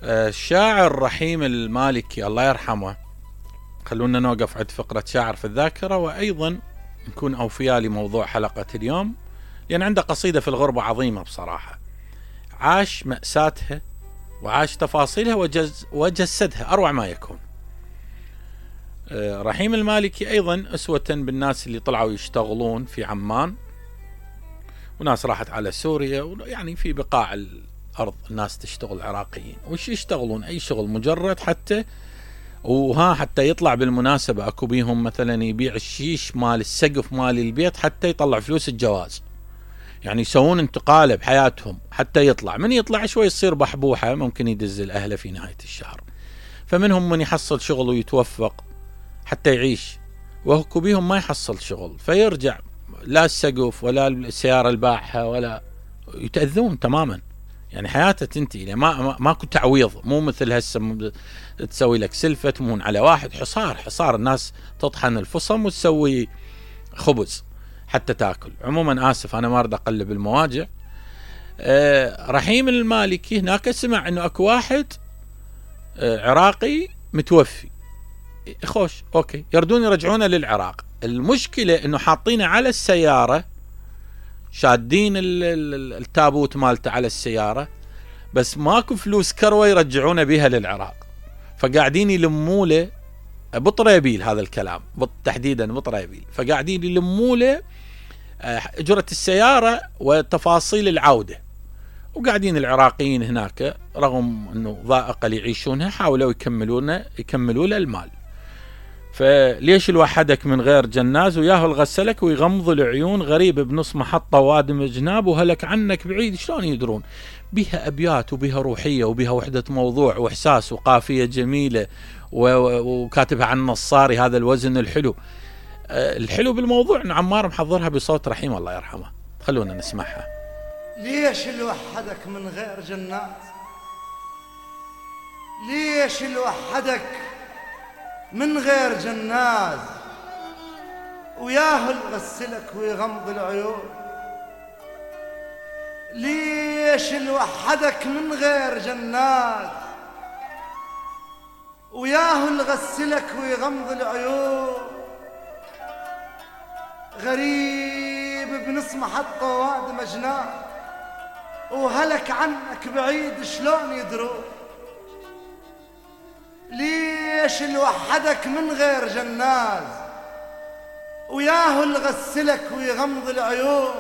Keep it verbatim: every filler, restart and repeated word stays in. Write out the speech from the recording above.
الشاعر رحيم المالكي الله يرحمه، خلونا نوقف عند فقرة شاعر في الذاكرة، وأيضا نكون أوفياء لموضوع حلقة اليوم، لأن عنده قصيدة في الغربة عظيمة بصراحة، عاش مأساتها وعاش تفاصيلها وجز وجسدها أروع ما يكون. رحيم المالكي أيضا أسوة بالناس اللي طلعوا يشتغلون في عمان، وناس راحت على سوريا، يعني في بقاع الأرض الناس تشتغل عراقيين، وش يشتغلون أي شغل مجرد حتى وها حتى يطلع. بالمناسبة أكو بيهم مثلا يبيع الشيش مال السقف مال البيت حتى يطلع فلوس الجواز، يعني يسوون انتقالة بحياتهم حتى يطلع، من يطلع شوي يصير بحبوحة، ممكن يدز الأهله في نهاية الشهر. فمنهم من يحصل شغل ويتوفق حتى يعيش، وأكو بيهم ما يحصل شغل فيرجع لا السقف ولا السيارة الباعها ولا يتأذون تماما، يعني حياته تنتهي، ما ماكو تعويض، مو مثل هسه تسوي لك سلفة تمون على واحد، حصار حصار الناس تطحن الفصم وتسوي خبز حتى تاكل. عموما آسف أنا ما أريد أقلب المواجع. أه رحيم المالكي هناك سمع إنه أكو واحد أه عراقي متوفي، خوش أوكي يردون يرجعونه للعراق. المشكلة إنه حاطينه على السيارة، شادين التابوت مالته على السيارة، بس ماكو فلوس كروة يرجعونه بها للعراق، فقاعدين يلموله بطريبيل، هذا الكلام تحديدا بطريبيل، فقاعدين يلموله أجرة السيارة وتفاصيل العودة، وقاعدين العراقيين هناك رغم أنه ضائقة اللي يعيشونها حاولوا يكملون يكملوا له المال. فليش الوحدك من غير جناز وياه الغسلك ويغمض العيون، غريب بنص محطة وادم جناب وهلك عنك بعيد، شلون يدرون؟ بها أبيات وبها روحية وبها وحدة موضوع وإحساس وقافية جميلة، وكاتبها عن نصاري، هذا الوزن الحلو. الحلو بالموضوع أن عمار محضرها بصوت رحيم الله يرحمه، خلونا نسمعها. ليش الوحدك من غير جنات؟ ليش الوحدك من غير جناز وياه يغسلك ويغمض العيون؟ ليش الوحدك من غير جناز وياه يغسلك ويغمض العيون؟ غريب بنص محطة واد مجنان وهلك عنك بعيد، شلون يدرون؟ ليش الوحدك من غير جناز وياه يغسلك ويغمض العيون؟